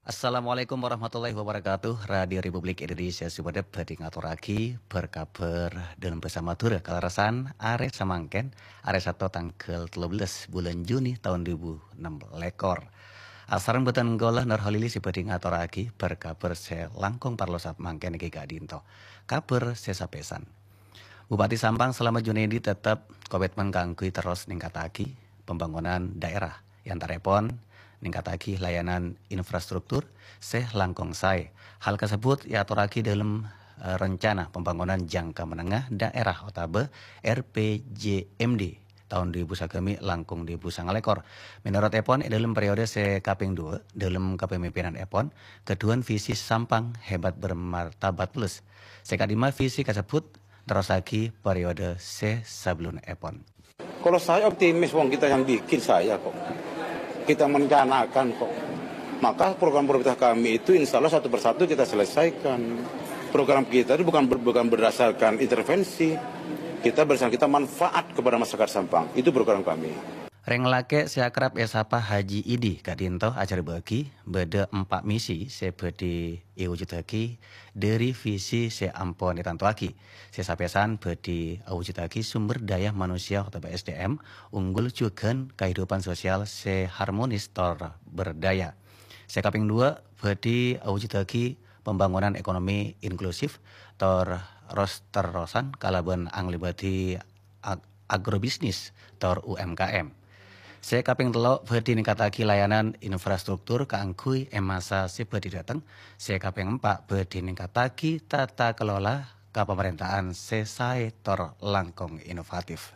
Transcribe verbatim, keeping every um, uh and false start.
Assalamualaikum warahmatullahi wabarakatuh. Radio Republik Indonesia Sumenep bhâdhi ngatorraghi bâr-kabâr dâlem bhâsa Madhurâ kalerressan arè samangkèn, arè Sabtu tangghâl tello bellas bulân Juni taon duwâ èbu ennem lèkor. Asareng bhâdhân kaulâ Nur Holili sè bhâdhi ngatorraghi bâr-kabâr sè langkong parlo samangkèn èngghi ka'dinto. Kabâr sè sapèsan. Bupati Sampang Slamet Junaidi tetep komitmen kaangghuy terros ningkataghi pembangunan daerah, è antarèpon ningkataghi layanan infrastruktur sè langkong saè. Hal kasebbhut èatorraghi dâlem, eh, Rencana Pembangunan Jangka Menengah Daerah otabâ R P J M D taon duwâ èbu sagâmè' langkong duwâ èbu sanga lèkor. Mènorot èpon, è dâlem periode sè kapèng duwâ', dâlem kapamimpinan èpon, ghâdhuwân visi Sampang Hebat Bermartabat Plus. Sè ka'dimma visi kasebbhut nerrossaghi periode sè sabellunna èpon. Kalau saya optimis, wong kita yang bikin saya kok. Kita merencanakan kok. Maka program prioritas kami itu insya Allah satu persatu kita selesaikan. Program kita itu bukan ber- bukan berdasarkan intervensi. Kita berdasarkan kita manfaat kepada masyarakat Sampang. Itu program kami. Rèng lakè' sè akrab èsapa Haji Idi ka'dinto ajhârbâ'âghi bâdâ empa' misi sè bhâdhi èwujudaghi dâri visi sè ampon ètantowaghi. Sè sapèsan bhâdhi awujudaghi sumber daya manusia otabâ S D M unggul jhughân kahidupan sosial sè harmonis tor berdaya. Sè kapèng duwâ', bhâdhi awujudaghi pembangunan ekonomi inklusif tor ros-terrosan kalabân anglèbâdhi ag-, agrobisnis tor U M K M. Sè kapèng tello', bhâdhi ningkataghi layanan infrastruktur kaangghuy è masa sè bhâdhi dâteng. Sè kapèng empa', bhâdhi ningkataghi tata kelola kapamarènta'an sè saè tor langkong inovatif.